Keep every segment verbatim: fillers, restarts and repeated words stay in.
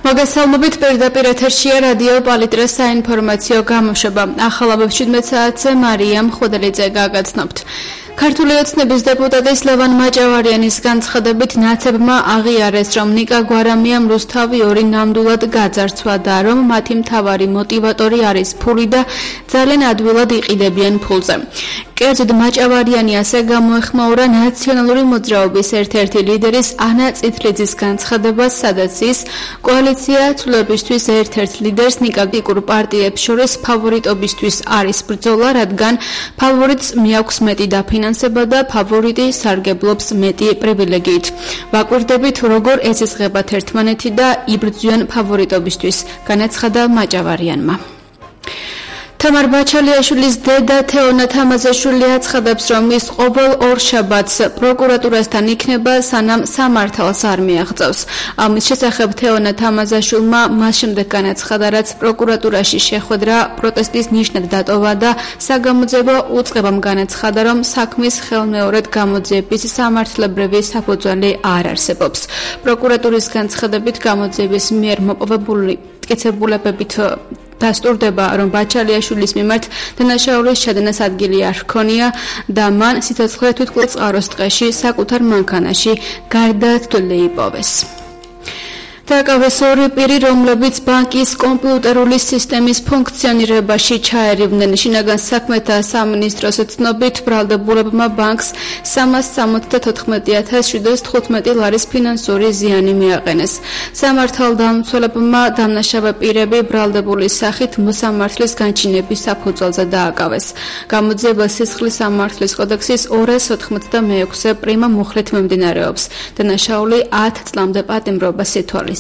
მოგესალმებით, პირდაპირ ეთერშია რადიო პალიტრას საინფორმაციო გამოშვება. ახალაბებს შვიდმეტ საათზე მარიამ ხუდელიძე გაგაცნობთ. ქართული ოცნების დეპუტატის ლევან მაჭავარიანის განცხადებით ნაცებმა აღიარეს, რომ ნიკა გვარამიამ რუსთავი ორი ნამდვილად გაძარცვა და რომ მათი მთავარი მოტივატორი არის ფული და ძალიან ადვილად იყიდებიან ფულზე. კერძოდ მაჭავარიანი ასე გამოეხმაურა ნაციონალური მოძრაობის ერთ-ერთი ლიდერის ანა წითლიძის განცხადებას, სადაც ის კოალიცია ცვლილებისთვის ერთ-ერთ ლიდერს ნიკაკიკურ პარტიებს შორის ფავორიტობისთვის არის ბრძოლა, რადგან ფავორიტს მიაქვს მეტი დაფინანსება და ფავორიტი სარგებლობს მეტი პრივილეგიით. ვაკვირდებით, როგორ ეცეცხებათ ერთმანეთი და იბრძვიან ფავორიტობისთვის, განაცხადა მაჭავარიანმა. თამარ ბაჩალიაშვილის დედა თეონა თამაზაშვილი აცხადებს, რომ ის ყოველ ორშაბათს პროკურატურასთან იქნება, სანამ სამართალს არ მიაღწევს. ამის შესახებ თეონა თამაზაშვილმა მას შემდეგ განაცხადა, რაც პროკურატურაში შეხვედრა პროტესტის ნიშნად დატოვა და საგამოძიებო უწყებამ განაცხადა, რომ საქმის ხელმეორედ გამოძიების სამართლებრივი საფუძველი არ არსებობს. პროკურატურის განცხადებით გამოძიების მიერ მოპოვებული მტკიცებულებებით დასტურდება, რომ ბაჩალიაშვილის მიმართ დანაშაულის ჩადენას ადგილი არ ჰქონია და მან სიცოცხლე თვითმკვლელ წყაროს ტყეში საკუთარ მანქანაში გარდაცვლილი იპოვეს. დაკავეს ორი პირი, რომლებიც ბანკის კომპიუტერული სისტემის ფუნქციონირებაში ჩაერივნენ. შინაგან საქმეთა სამინისტროს ცნობით, ბრალდებულებმა ბანკს სამას სამოცდათოთხმეტი ათას შვიდას თხუთმეტი ლარის ფინანსური ზიანი მიაყენეს. სამართალდამცველებმა დამნაშავე პირები ბრალდებულის სახით მოსამართლის განჩინების საფუძველზე დააკავეს. გამოძიება სისხლის სამართლის კოდექსის ორას ოთხმოცდამეექვსე პრიმა მუხლით მიმდინარეობს. დანაშაული ათ წლამდე პატიმრობას ითვალისწინებს.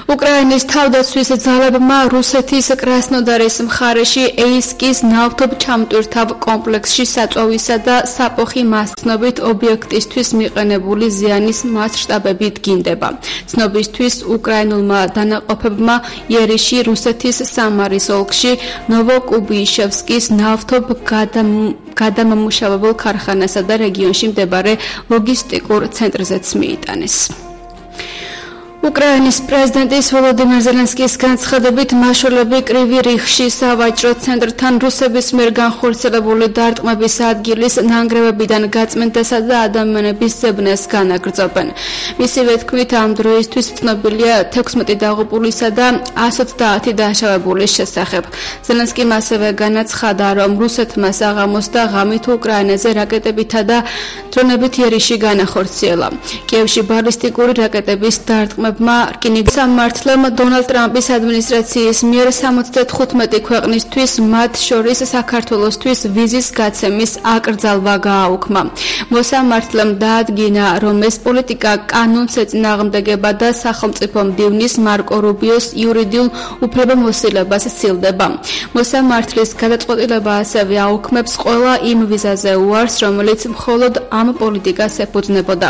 უკრაინის თავდაცვის ძალებმა რუსეთის კრასნოდარის მხარეში ეისკის ნავთობჩამტვირთავ კომპლექსში საწვავისა და საფოხი მასწნობით ობიექტისთვის მიყენებული ზიანის მასშტაბები დგინდება. ცნობისთვის, უკრაინულმა დანაყოფებმა იერიში რუსეთის სამარის ოლქში ნოვოკუბიშევსკის ნავთობ გადამამუშავებელ ქარხანასა და რეგიონში მდებარე ლოგისტიკურ ცენტრზეც მიიტანეს. უკრაინის პრეზიდენტის ვოლოდიმირ ზელენსკის განცხადებით, მაშველები კრივი რიხში სავაჭრო ცენტრთან რუსების მიერ განხორციელებული დარტყმების ადგილის ნანგრევებიდან გაწმენდასა და ადამიანების ზებნას განაგრძობენ. მისივე თქმით, ამ დროისთვის ცნობილია თექვსმეტი დაღუპულისა და ასი ოცდაათი დაშავებულის შესახებ. ზელენსკიმ ასევე განაცხადა, რომ რუსეთმა საღამოს და ღამით უკრაინაზე რაკეტებითა და დრონებით იერიში განახორციელა. კიევში ბალისტიკური რაკეტების დარტყმა რკინიგზის სამართლემ დონალდ ტრამპის ადმინისტრაციის მიერ სამოცდათხუთმეტი ქვეყნისთვის, მათ შორის საქართველოსთვის ვიზის გაცემის აკრძალვა გააუქმა. მოსამართლემ დაადგინა, რომ ეს პოლიტიკა კანონს ეწინააღმდეგება და სახელმწიფო მდივნის მარკო რუბიოს იურიდიულ უფლებამოსილებას სცილდება. მოსამართლის გადაწყვეტილება ასევე აუქმებს ყველა იმ ვიზაზე უარს, რომელიც მხოლოდ ამ პოლიტიკას ეფუძნებოდა.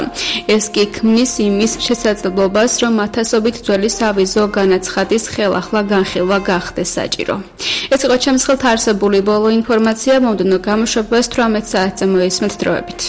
ეს კი ქმნის იმის შესაძლებლობას, რომ ათასობით ძველი სავიზო განაცხადის ხელახლა განხილვა გახდეს საჭირო. ეს იყო ჩემს ხელთ არსებული ბოლო ინფორმაცია, მომდევნო გამოშვებას თვრამეტ საათზე მოისმენთ დროებით.